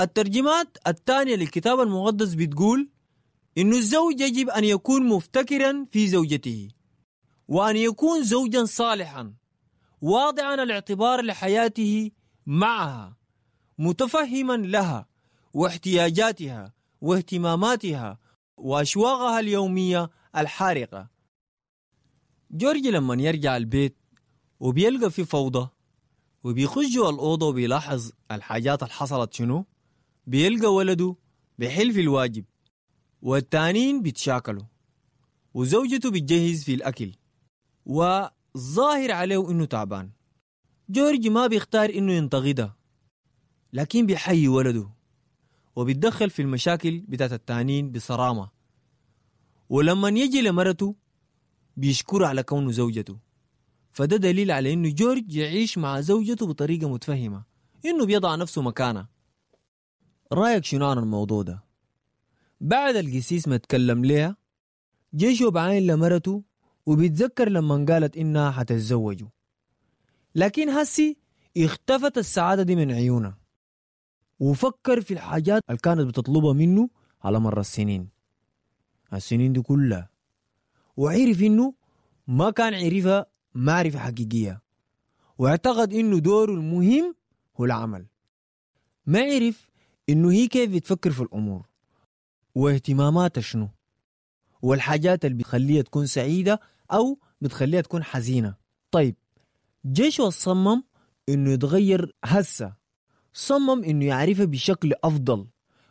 الترجمات الثانية للكتاب المقدس بتقول إنه الزوج يجب أن يكون مفتكرا في زوجته، وأن يكون زوجا صالحا واضعا الاعتبار لحياته معها، متفهما لها واحتياجاتها واهتماماتها وأشواقها اليومية الحارقة. جورج لما يرجع البيت وبيلقى في فوضى وبيخش جوا الأوضة وبيلاحظ الحاجات اللي حصلت شنو، بيلقى ولده بيحل في الواجب والتانين بيتشاكلوا وزوجته بتجهز في الأكل وظاهر عليه إنه تعبان. جورج ما بيختار إنه ينتقدها، لكن بيحيي ولده وبيتدخل في المشاكل بتاعت التانين بصرامة. ولما يجي لمرته بيشكره على كونه زوجته، فده دليل على إنه جورج يعيش مع زوجته بطريقة متفهمة، إنه بيضع نفسه مكانه. رأيك شنو عن الموضوع ده؟ بعد القسيس ما تكلم ليها، جيشه بعين لمرته وبيتذكر لما قالت إنها حتتزوجه، لكن هسي اختفت السعادة دي من عيونها، وفكر في الحاجات اللي كانت بتطلبها منه على مر السنين دي كلها، وعرف إنه ما كان عرفها معرفة حقيقية، واعتقد إنه دوره المهم هو العمل. ما عرف إنه هي كيف بتفكر في الأمور واهتماماتها شنو، والحاجات اللي بتخليها تكون سعيدة أو بتخليها تكون حزينة. طيب جيشه صمم إنه يتغير هسه، صمم إنه يعرفها بشكل أفضل،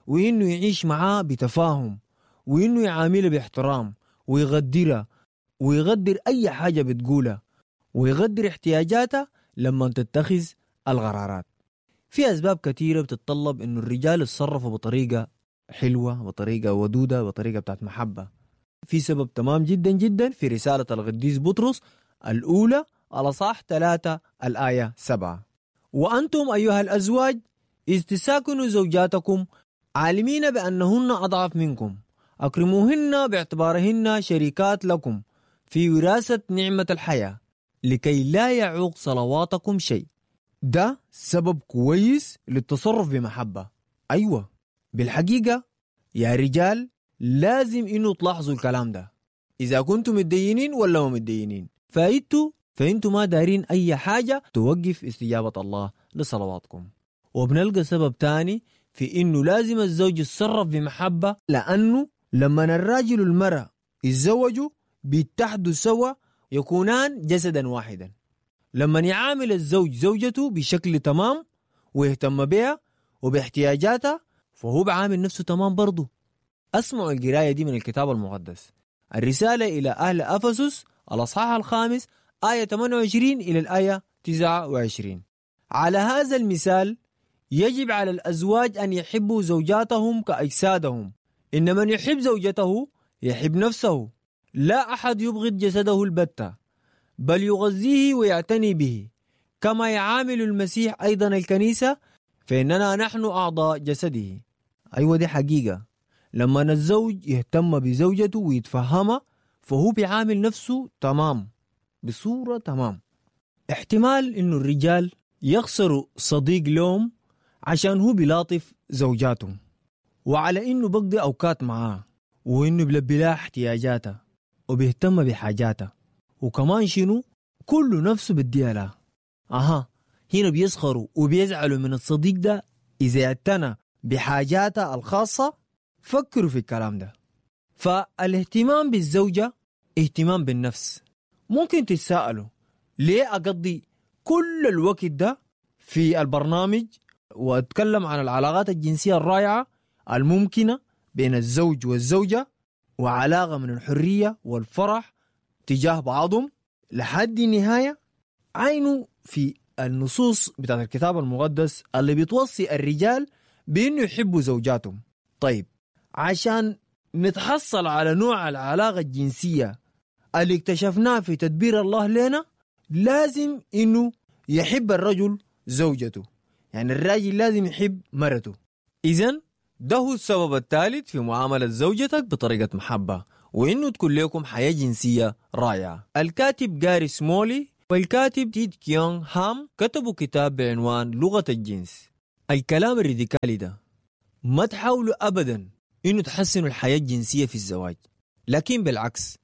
وإنه يعيش معاه بتفاهم، وإنه يعاملها باحترام، ويغدرها ويغدر أي حاجة بتقولها، ويغدر احتياجاتها لما تتخذ القرارات. في أسباب كثيرة بتتطلب إنه الرجال يتصرفوا بطريقة حلوة، بطريقة ودودة، بطريقة بتاعت محبة. في سبب تمام جدا جدا في رسالة القديس بطرس الأولى الأصحاح 3 الآية 7: وأنتم أيها الأزواج إذ تساكنوا زوجاتكم عالمين بأنهن أضعف منكم، أكرموهن باعتبارهن شريكات لكم في وراثة نعمة الحياة، لكي لا يعوق صلواتكم شيء. ده سبب كويس للتصرف بمحبة. أيوة بالحقيقة يا رجال لازم إنه تلاحظوا الكلام ده، إذا كنتم متدينين ولا ما متدينين، فإنتوا ما دارين أي حاجة توقف استجابة الله لصلواتكم. وبنلقى سبب تاني في إنه لازم الزوج يتصرف بمحبة، لأنه لما الراجل والمرأة يتزوجوا بيتحدوا سوا يكونان جسدا واحدا. لما يعامل الزوج زوجته بشكل تمام ويهتم بها وباحتياجاتها، فهو بعامل نفسه تمام برضه. أسمعوا القراية دي من الكتاب المقدس، الرسالة إلى أهل أفسس الأصحاح 5 آية 28 إلى الآية 29: على هذا المثال يجب على الأزواج أن يحبوا زوجاتهم كأجسادهم، إن من يحب زوجته يحب نفسه، لا أحد يبغض جسده البتة، بل يغذيه ويعتني به، كما يعامل المسيح أيضا الكنيسة، فإننا نحن أعضاء جسده. أيوة دي حقيقة، لما الزوج يهتم بزوجته ويتفهمها فهو بيعامل نفسه تمام، بصورة تمام. احتمال إنه الرجال يخسروا صديق لهم عشان هو بيلاطف زوجاتهم، وعلى إنه بقضي أوقات معاه، وإنه بلبي لها احتياجاتها وبيهتم بحاجاتها، وكمان شنو كله نفسه بديها لها. هنا بيسخروا وبيزعلوا من الصديق ده إذا اعتنى بحاجاتها الخاصة. فكروا في الكلام ده. فالاهتمام بالزوجة اهتمام بالنفس. ممكن تتساءلوا ليه أقضي كل الوقت ده في البرنامج وأتكلم عن العلاقات الجنسية الرائعة الممكنة بين الزوج والزوجة، وعلاقة من الحرية والفرح تجاه بعضهم لحد النهاية؟ عينه في النصوص بتاعت الكتاب المقدس اللي بتوصي الرجال بأنه يحبوا زوجاتهم. طيب عشان نتحصل على نوع العلاقة الجنسية اللي اكتشفناه في تدبير الله لنا، لازم إنه يحب الرجل زوجته، يعني الراجل لازم يحب مرته. إذن ده هو السبب الثالث في معاملة زوجتك بطريقة محبة، وإنه تكون لكم حياة جنسية رائعة. الكاتب جاري سمولي والكاتب تيد كيونغ هام كتبوا كتاب بعنوان لغة الجنس. الكلام الراديكالي ده ما تحاولوا أبدا إنه تحسنوا الحياة الجنسية في الزواج، لكن بالعكس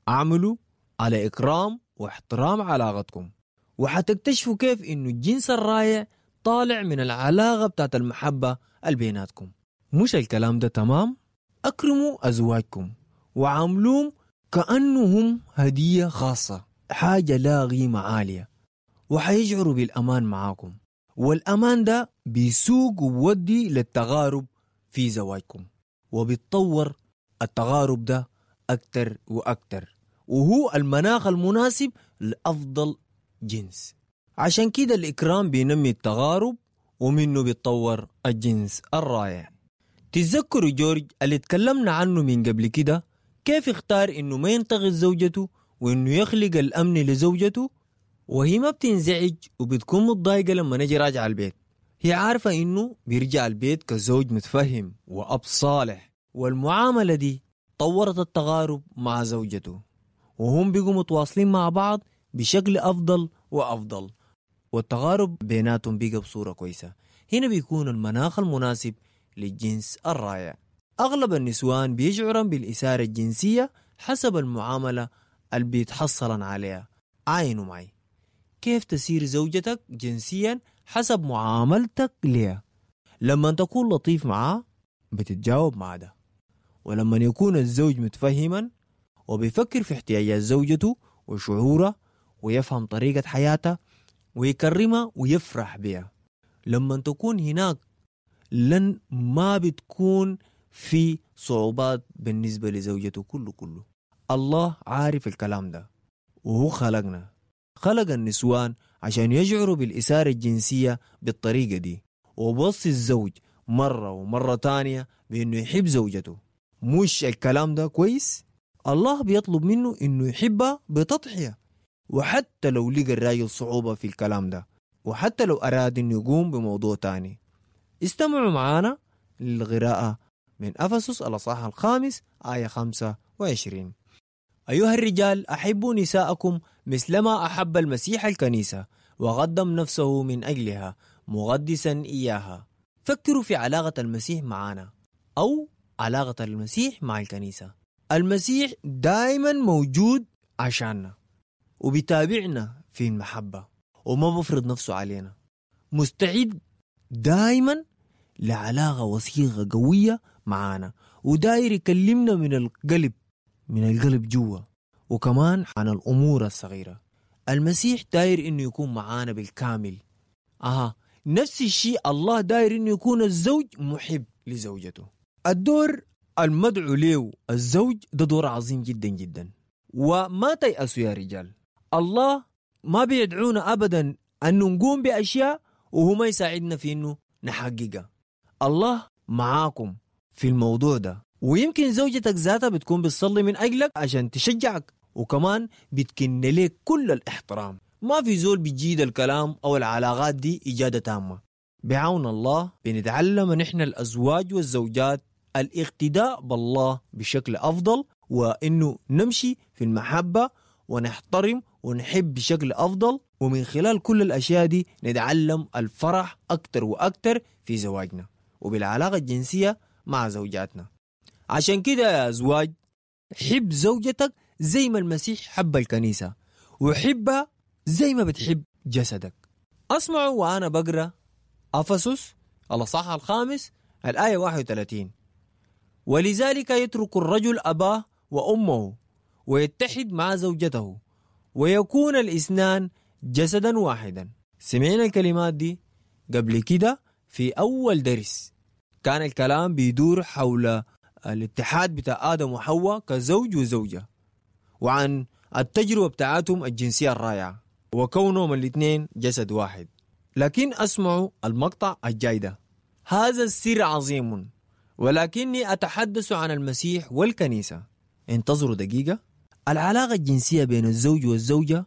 اعملوا على إكرام واحترام علاقتكم، وحتكتشفوا كيف إنه الجنس الرائع طالع من العلاقة بتاعت المحبة البيناتكم. مش الكلام ده تمام؟ أكرموا أزواجكم وعاملوهم كأنهم هدية خاصة، حاجة لا قيمة عالية، وحيشعروا بالأمان معاكم، والأمان ده بيسوق وبودي للتغارب في زواجكم، وبيتطور التغارب ده أكتر وأكتر، وهو المناخ المناسب لأفضل جنس. عشان كده الإكرام بينمي التغارب، ومنه بيتطور الجنس الرائع. تتذكروا جورج اللي اتكلمنا عنه من قبل كده، كيف اختار انه ما ينتقد زوجته وانه يخلق الامن لزوجته، وهي ما بتنزعج وبتكون متضايقة لما نجي راجع البيت. هي عارفة انه بيرجع البيت كزوج متفهم واب صالح، والمعاملة دي طورت التغارب مع زوجته، وهم بيقوا متواصلين مع بعض بشكل افضل وافضل، والتغارب بيناتهم بيقى بصورة كويسة. هنا بيكون المناخ المناسب للجنس الرائع. أغلب النسوان بيشعرن بالإثارة الجنسية حسب المعاملة اللي بيتحصلن عليها. عاينوا معي كيف تسير زوجتك جنسيا حسب معاملتك لها. لما تكون لطيف معاه بتتجاوب مع ده، ولما يكون الزوج متفهما وبيفكر في احتياجات زوجته وشعوره ويفهم طريقة حياتها ويكرمها ويفرح بها، لما تكون هناك لن ما بتكون في صعوبات بالنسبة لزوجته كله كله. الله عارف الكلام ده، وهو خلقنا، خلق النسوان عشان يشعروا بالإثارة الجنسية بالطريقة دي، وبوصي الزوج مرة ومرة تانية بأنه يحب زوجته. مش الكلام ده كويس؟ الله بيطلب منه أنه يحبها بتضحية، وحتى لو لقى الراجل صعوبة في الكلام ده، وحتى لو أراد أنه يقوم بموضوع تاني. استمعوا معنا للقراءة من أفسس الأصحاح 5 آية 25. أيها الرجال أحبوا نساءكم مثلما أحب المسيح الكنيسة وقدم نفسه من أجلها مقدسا إياها. فكروا في علاقة المسيح معنا أو علاقة المسيح مع الكنيسة. المسيح دائما موجود عشاننا وبيتابعنا في المحبة، وما بفرض نفسه علينا، مستعد دائما لعلاقة وثيقة قوية معانا، وداير يكلمنا من القلب، من القلب جوا، وكمان عن الأمور الصغيرة. المسيح داير إنه يكون معانا بالكامل. نفس الشيء الله داير إنه يكون الزوج محب لزوجته. الدور المدعو له الزوج ده دور عظيم جدا جدا، وما تيأسوا يا رجال. الله ما بيدعونا أبدا أن نقوم بأشياء وهو ما يساعدنا في إنه نحققها. الله معاكم في الموضوع ده، ويمكن زوجتك ذاتها بتكون بتصلي من أجلك عشان تشجعك، وكمان بتكن لك كل الاحترام. ما في زول بيجيد الكلام أو العلاقات دي إجادة تامة. بعون الله بنتعلم نحن الأزواج والزوجات الاقتداء بالله بشكل أفضل، وإنه نمشي في المحبة ونحترم ونحب بشكل أفضل، ومن خلال كل الأشياء دي نتعلم الفرح أكتر وأكتر في زواجنا وبالعلاقة الجنسية مع زوجاتنا. عشان كده يا أزواج، حب زوجتك زي ما المسيح حب الكنيسة، وحبها زي ما بتحب جسدك. أسمعوا وأنا بقرأ أفسس الأصحاح 5 الآية 31: ولذلك يترك الرجل أباه وأمه ويتحد مع زوجته ويكون الاثنان جسدا واحدا. سمعنا الكلمات دي قبل كده في أول درس، كان الكلام بيدور حول الاتحاد بتاع آدم وحواء كزوج وزوجة، وعن التجربة بتاعتهم الجنسية الرائعة وكونهم الاثنين جسد واحد. لكن أسمعوا المقطع الجاي ده: هذا السر عظيم ولكني أتحدث عن المسيح والكنيسة. انتظروا دقيقة. العلاقة الجنسية بين الزوج والزوجة،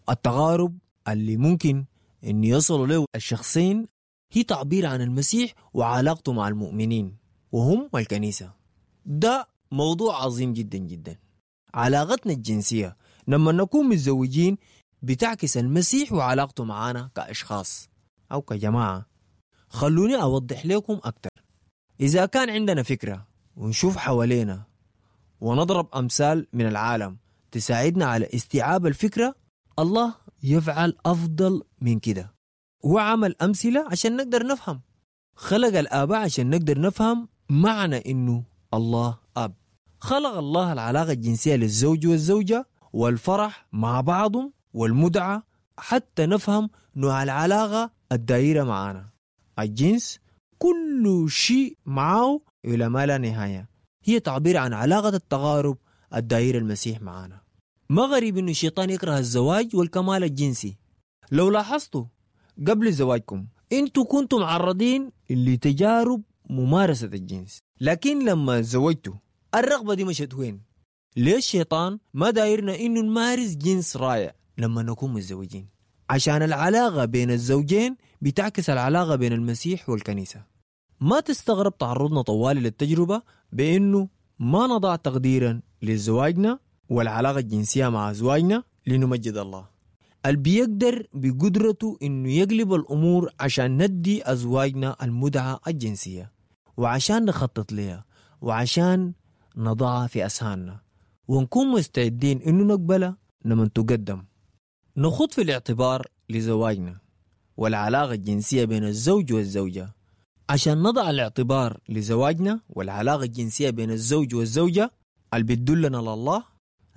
التغارب اللي ممكن أن يصلوا له الشخصين، هي تعبير عن المسيح وعلاقته مع المؤمنين وهم الكنيسة. ده موضوع عظيم جدا جدا. علاقتنا الجنسية لما نكون متزوجين بتعكس المسيح وعلاقته معانا كأشخاص أو كجماعة. خلوني أوضح لكم أكتر. إذا كان عندنا فكرة ونشوف حوالينا ونضرب أمثال من العالم تساعدنا على استيعاب الفكرة، الله يفعل أفضل من كده. هو عمل أمثلة عشان نقدر نفهم، خلق الآباء عشان نقدر نفهم معنى إنه الله أب. خلق الله العلاقة الجنسية للزوج والزوجة والفرح مع بعضهم والمتعة، حتى نفهم نوع العلاقة الدائرة معانا. الجنس كل شيء معه إلى ما لا نهاية، هي تعبير عن علاقة التقارب الدائرة المسيح معانا. ما غريب إنه الشيطان يكره الزواج والكمال الجنسي. لو لاحظتوا قبل زواجكم انتوا كنتم معرضين لتجارب ممارسة الجنس، لكن لما زوجتوا الرغبة دي مشت وين؟ ليه الشيطان ما دايرنا انه نمارس جنس رائع لما نكون متزوجين؟ عشان العلاقة بين الزوجين بتعكس العلاقة بين المسيح والكنيسة. ما تستغرب تعرضنا طوالي للتجربة بانه ما نضع تقديرا لزواجنا والعلاقة الجنسية مع أزواجنا لنمجد الله. اللي بيقدر بقدرته إنه يقلب الأمور عشان ندي أزواجنا المتعة الجنسية، وعشان نخطط لها، وعشان نضعها في أذهاننا، ونكون مستعدين إنه نقبلها لما تقدم. نخوض في الاعتبار لزواجنا والعلاقة الجنسية بين الزوج والزوجة. عشان نضع الاعتبار لزواجنا والعلاقة الجنسية بين الزوج والزوجة اللي بتدلنا لله،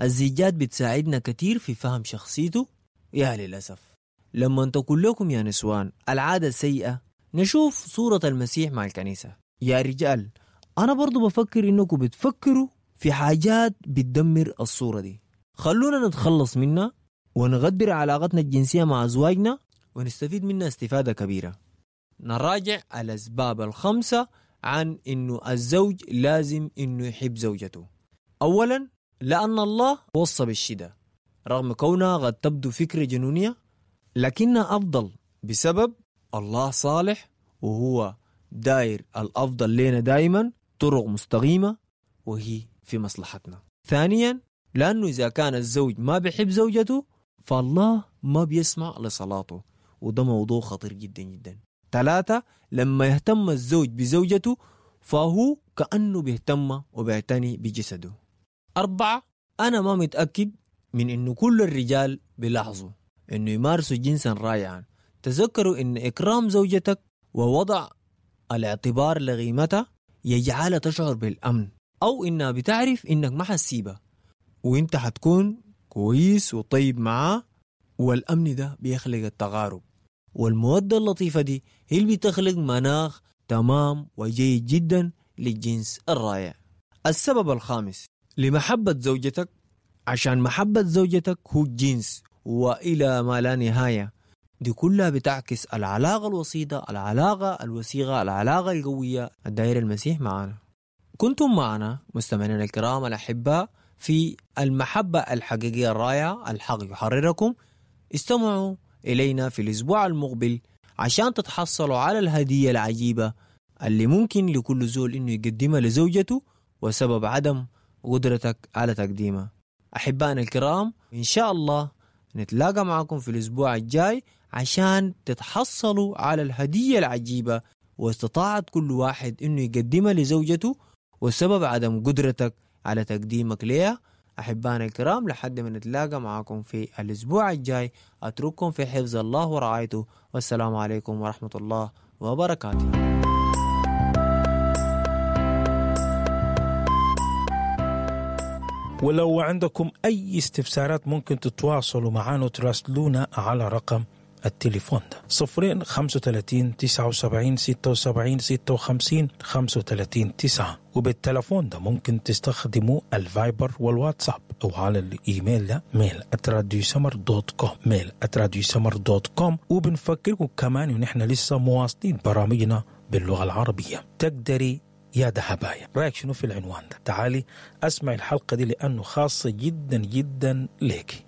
الزيجات بتساعدنا كتير في فهم شخصيته. يا للأسف لما تقول لكم يا نسوان العادة السيئة، نشوف صورة المسيح مع الكنيسة. يا رجال، أنا برضو بفكر إنكم بتفكروا في حاجات بتدمر الصورة دي. خلونا نتخلص منها ونغدر علاقتنا الجنسية مع أزواجنا ونستفيد منها استفادة كبيرة. نراجع الأسباب الخمسة عن إنه الزوج لازم إنه يحب زوجته. أولا، لأن الله وصى بالشدة، رغم كونها قد تبدو فكرة جنونية لكنها أفضل بسبب الله صالح وهو داير الأفضل لنا دائما، طرق مستقيمة وهي في مصلحتنا. ثانيا، لأنه إذا كان الزوج ما بيحب زوجته فالله ما بيسمع لصلاته، وده موضوع خطير جدا جدا. ثلاثة، لما يهتم الزوج بزوجته فهو كأنه بيهتم وبيعتني بجسده. أربعة، أنا ما متأكد من إنه كل الرجال بيلاحظوا إنه يمارسوا جنسا رائعا. تذكروا إن إكرام زوجتك ووضع الاعتبار لقيمتها يجعلها تشعر بالأمن، أو إنها بتعرف إنك ما حتسيبها وإنت حتكون كويس وطيب معاه، والأمن ده بيخلق التقارب والمودة اللطيفة دي هي اللي بتخلق مناخ تمام وجيد جدا للجنس الرائع. السبب الخامس، لمحبة زوجتك، عشان محبة زوجتك هو الجنس وإلى ما لا نهاية. دي كلها بتعكس العلاقة الوسيطة، العلاقة الوثيقة، العلاقة القوية الدائرة المسيح معنا. كنتم معنا مستمعينا الكرام الأحباء في المحبة الحقيقية الرائعة، الحق يحرركم. استمعوا إلينا في الأسبوع المقبل عشان تتحصلوا على الهدية العجيبة اللي ممكن لكل زول إنه يقدمها لزوجته وسبب عدم قدرتك على تقديمها. أحبائنا الكرام، إن شاء الله نتلاقى معكم في الأسبوع الجاي عشان تتحصلوا على الهدية العجيبة واستطاعت كل واحد إنه يقدمها لزوجته وسبب عدم قدرتك على تقديمك ليها. أحبائنا الكرام، لحد ما نتلاقى معكم في الأسبوع الجاي، أترككم في حفظ الله ورعايته، والسلام عليكم ورحمة الله وبركاته. ولو عندكم أي استفسارات ممكن تتواصلوا معنا وتراسلونا على رقم التليفون ده 0 35 79 76 56 35 9. وبالتلفون ده ممكن تستخدموا الفايبر والواتساب أو على الإيميل ده mail@radiosummer.com mail@radiosummer.com. وبنفكركم كمان إن إحنا لسه مواصلين برامجنا باللغة العربية. تقدري يا دهبايا، رأيك شنو في العنوان ده؟ تعالي أسمع الحلقة دي لأنه خاصة جدا جدا ليكي.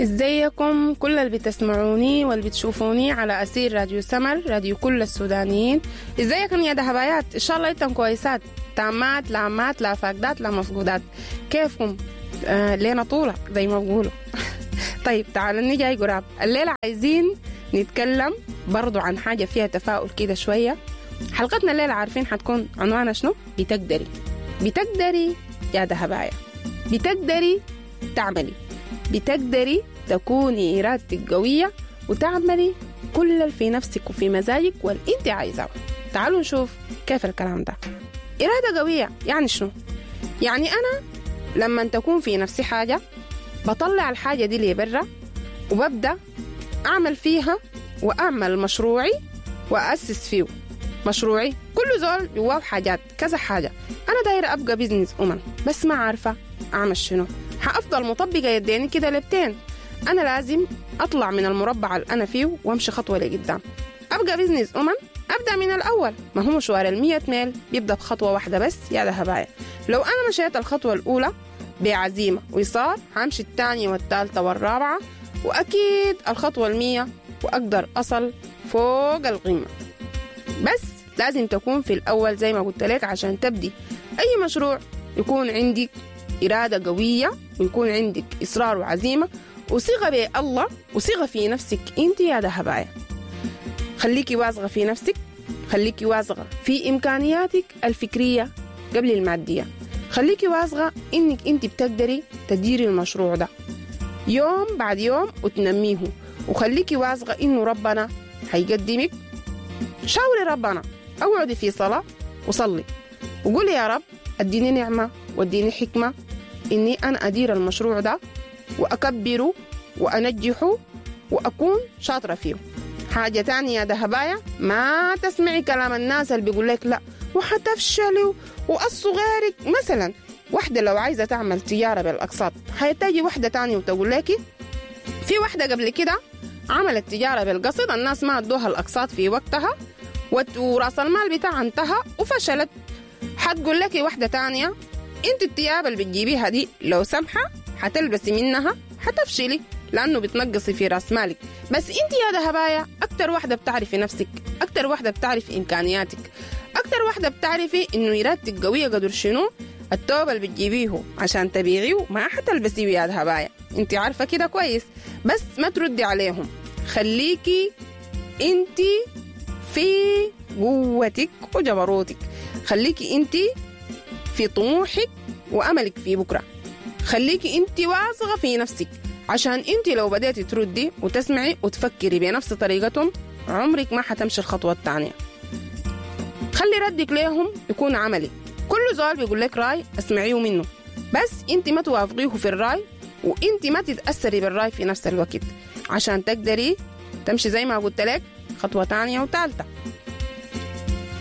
ازيكم كل اللي بتسمعوني واللي بتشوفوني على أسير راديو سمر، راديو كل السودانيين. ازيكم يا دهبايات؟ ان شاء الله انتم كويسات تامات، لا مات، لا فاقدات، لا مفقودات. كيفكم؟ لينا طولة زي ما بقولوا. طيب تعالوا نجي قراب. الليلة عايزين نتكلم برضو عن حاجة فيها تفاؤل كده شوية. حلقتنا الليلة عارفين حتكون عنوانها شنو؟ بتقدري. بتقدري يا دهبايا، بتقدري تعملي، بتقدري تكوني إرادتك قوية وتعملي كل اللي في نفسك وفي مزاجك واللي انت عايزاه. تعالوا نشوف كيف الكلام ده. إرادة قوية يعني شنو؟ يعني أنا لما تكون في نفسي حاجة بطلع الحاجة دي لبرا وببدأ أعمل فيها وأعمل مشروعي وأسس فيه مشروعي. كل زول جواه حاجات كذا حاجة. أنا دايرة أبقى business woman بس ما عارفة أعمل شنو. حأفضل مطبقة يديني كده لبتين. أنا لازم أطلع من المربع اللي أنا فيه وأمشي خطوة لقدام. أبقى business woman أبدأ من الأول. ما هو مشوار 100 ميل بيبدأ بخطوة واحدة بس يا دهبايا. لو أنا مشيت الخطوة الأولى بعزيمة وإصرار همشي الثانية والثالثة والرابعة وأكيد الخطوة 100 وأقدر أصل فوق القمة. بس لازم تكون في الأول زي ما قلت لك عشان تبدي أي مشروع يكون عندك إرادة قوية ويكون عندك إصرار وعزيمة وثقة بالله وثقة في نفسك أنت يا دهبايا. خليكي واثقة في نفسك، خليكي واثقة في إمكانياتك الفكرية قبل المادية، خليكي واثقة إنك أنت بتقدري تديري المشروع ده يوم بعد يوم وتنميه، وخليكي واثقة إنه ربنا هيقدمك. شاوري ربنا، اقعدي في صلاة وصلي وقولي يا رب اديني نعمة واديني حكمة إني أنا أدير المشروع ده وأكبره وأنجحه وأكون شاطرة فيه. حاجة تانية يا دهبايا، ما تسمعي كلام الناس اللي بيقول لك لا وحتفشلي وقصوا غيرك. مثلا واحدة لو عايزة تعمل تجارة بالأقساط حيتجي واحدة تانية وتقول لك في واحدة قبل كده عملت تجارة بالقسط، الناس ما ادوها الأقساط في وقتها وراس المال بتاعها انتهى وفشلت. حتقول لك واحدة تانية انت الثياب اللي بتجيبيها دي لو سمحة حتلبسي منها حتفشلي لأنه بتنقصي في راس مالك. بس انت يا دهبايا أكتر واحدة بتعرفي نفسك، أكتر واحدة بتعرفي إمكانياتك، أكتر واحدة بتعرفي إنه إرادتك قوية قدر شنو. التوبة اللي بتجيبيه عشان تبيعيه ما حتلبسيه يا دهبايا، انت عارفة كده كويس. بس ما تردي عليهم، خليكي انت في قوتك وجبروتك، خليكي انت في طموحك وأملك في بكرة، خليكي انت واثقة في نفسك. عشان انت لو بدأتي تردي وتسمعي وتفكري بنفس طريقتهم عمرك ما حتمشي الخطوة الثانية. خلي ردك ليهم يكون عملي. كل زول بيقول لك راي اسمعيه منه، بس انت ما توافقيه في الراي وانت ما تتأثري بالراي في نفس الوقت عشان تقدري تمشي زي ما قلت لك خطوة تانية وثالثة.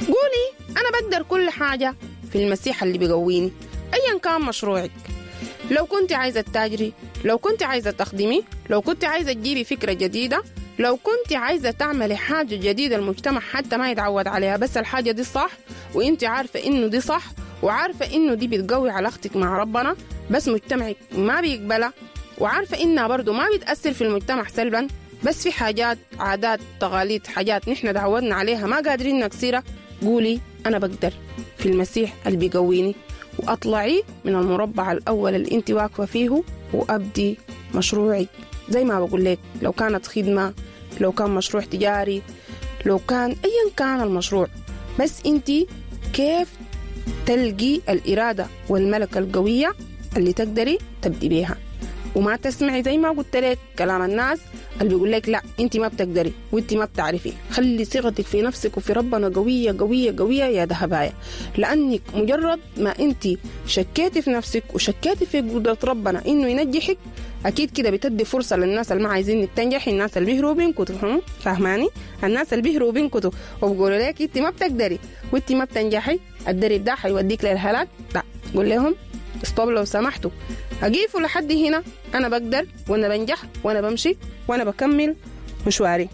قولي أنا بقدر كل حاجة في المسيح اللي بيقويني، أيا كان مشروعك. لو كنت عايزة تتاجري، لو كنت عايزة تخدمي، لو كنت عايزة تجيبي فكرة جديدة، لو كنت عايزة تعملي حاجة جديدة المجتمع حتى ما يتعود عليها، بس الحاجة دي صح وانت عارفة انه دي صح وعارفة انه دي بتقوي علاقتك مع ربنا، بس مجتمعك ما بيقبلها وعارفة انها برضو ما بتأثر في المجتمع سلبا، بس في حاجات عادات تقاليد حاجات نحن تعودنا عليها ما قادرين نكسرها. قولي أنا بقدر في المسيح اللي بيقويني، وأطلعي من المربع الأول اللي انت واقفة فيه وأبدي مشروعي. زي ما بقول لك لو كانت خدمة، لو كان مشروع تجاري، لو كان أيا كان المشروع، بس انت كيف تلقي الإرادة والملكة القوية اللي تقدري تبدي بيها. وما تسمعي زي ما قلت لك كلام الناس اللي بيقول لك لا انت ما بتقدري وانت ما بتعرفي. خلي ثقتك في نفسك وفي ربنا قوية قوية قوية يا دهبايا، لأنك مجرد ما انت شكيتي في نفسك وشكيتي في قدرة ربنا انه ينجحك، اكيد كده بتدي فرصة للناس اللي ما عايزينك تنجحي، الناس اللي بيهربوا بينكتوا، فاهماني؟ الناس اللي بيهربوا بينكتوا وبيقولوا لك انت ما بتقدري وانت ما بتنجحي، الدرب ده حيوديك للهلاك. لا، قول لهم stop لو سمحتوا، أقيفوا لحد هنا، أنا بقدر وأنا بنجح وأنا بمشي وأنا بكمل مشواري.